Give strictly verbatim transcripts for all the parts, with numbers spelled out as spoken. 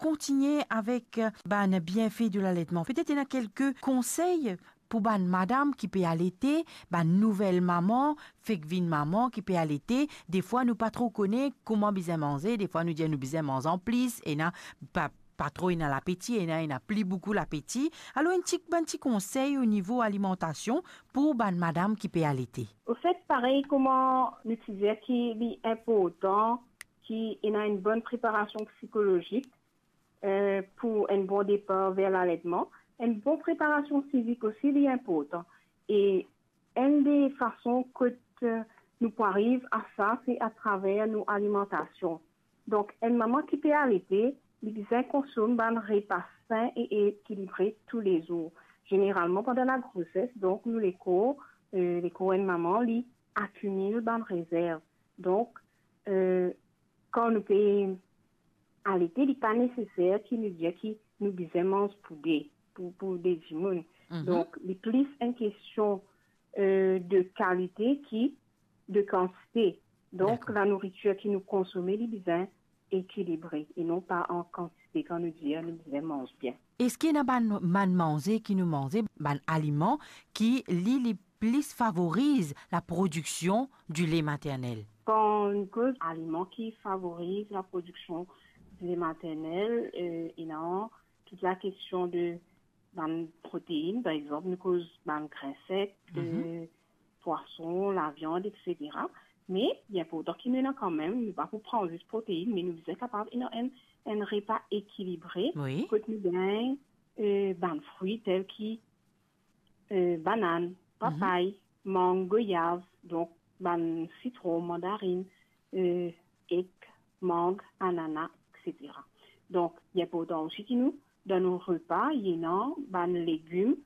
kontigne avek, eh, bann bienfe de laletman, petet ena kelke konsey pou bann madam ki pe alete, bann nouvel mama, fek vinn mama ki pe alete. Defwa nou pa tro kone kouma bizin manze, defwa nou dir nou bizin manz anplis, ena pa, pa tro ena lapeti, ena, ena pli boukou lapeti. Alor, enn ti, bann ti konsey o nivo alimantasion pou bann madam ki pe alete. Ofet, parey kouma nou ti dir ki li inportan ki ena enn bonn preparasion psikolozik, eh, pou enn bon depar ver laletman, enn bon preparasion fizik osi, li inportan. E enn de fason kot, eh, nou pou ariv a sa, se atraver nou alimantasion. Donk, enn mama ki pe alete, li bizin konsom bann repa sin e ekilibre toulezour. Zeneralman, pandan lagroses, donk, nou lekor, eh, lekor enn mama, li akimil bann rezerv. Donk, eh, kan nou pe alete, li pa neseser ki nou dir ki nou bizin manz pou de, pou, pou de dimoun. Mhm. Donk, li plis enn kestion, eh, de kalite ki de kantite. Donk, dakor, lanouritir ki nou konsome, li bizin ekilibre e non pa an kantite kan nou dir nou bizin manz bien. Eski ena bann, bann manze ki nou manze, bann aliman ki li, li plis favoriz laprodiksion di le maternel? Kan nou koz aliman ki favoriz laprodiksion di le maternel, eh, ena tout lakestion de bann protein, par exanp, nou koz bann grin sek, mhm, eh, pwason, laviann, etsetera. Me li inportan ki nou ena kanmem, nou pa pou pran zis protein, me nou bizin kapav ena enn, enn repa ekilibre, wi, kot nou gagn, eh, bann fri tel ki, eh, banann, mhm, papay, mang, goyav, donk bann sitron, mandarin, eh, ek, mang, anana, etsetera. Donk, li inportan osi ki nou, dan nou repa, ena bann legim,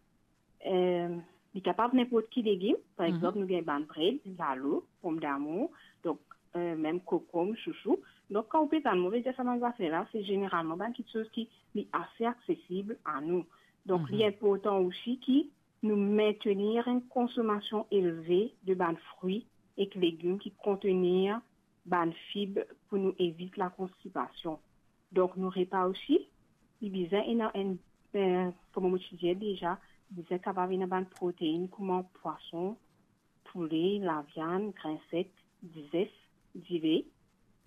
eh, li kapav ninport ki legim, par, mhm, exanp, nou gagn bann bred, lalo, pomdamour, donk, eh, mem kokonm, sousou. Donk, kan ou pe tann mwa, vedir sa bann zafer la, se zeneralman bann kiksoz ki li ase aksesib a nou. Donk, mhm, li inportan osi ki nou mintenir enn konsomasion elve de bann fri ek legim ki kontenir bann fib pou nou evit lakonstipasion. Donk, nou repa osi, li bizin ena enn, eh, kouma mo ti dir deza, li bizin kapav ena bann protein kouma pwason, poule, laviann, grin sek, dizef, dile,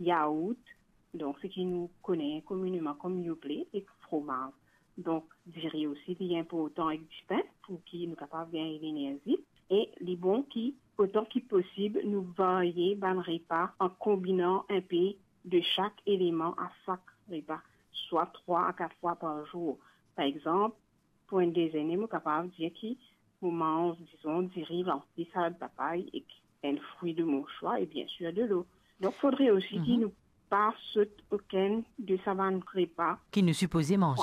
yaourt, donk seki nou kone komineman kom Yoplait, ek fromaz. Donk, diri osi, li inportan, ek dipin, pou ki nou kapav gagn lenerzi. E li bon ki, otan ki posib, nou varye bann repa an konbinan enpe de sak eleman a sak repa, swa trwa a kat fwa par zour. Par exanp, pou enn dezene, mo kapav dir ki mo manz, dizon, diri, lanti, salad papay ek enn fri de mo swa e biensir delo. Donk, fodre osi ki, mhm, nou pa sot okenn de sa bann repa ki nou sipoze manze.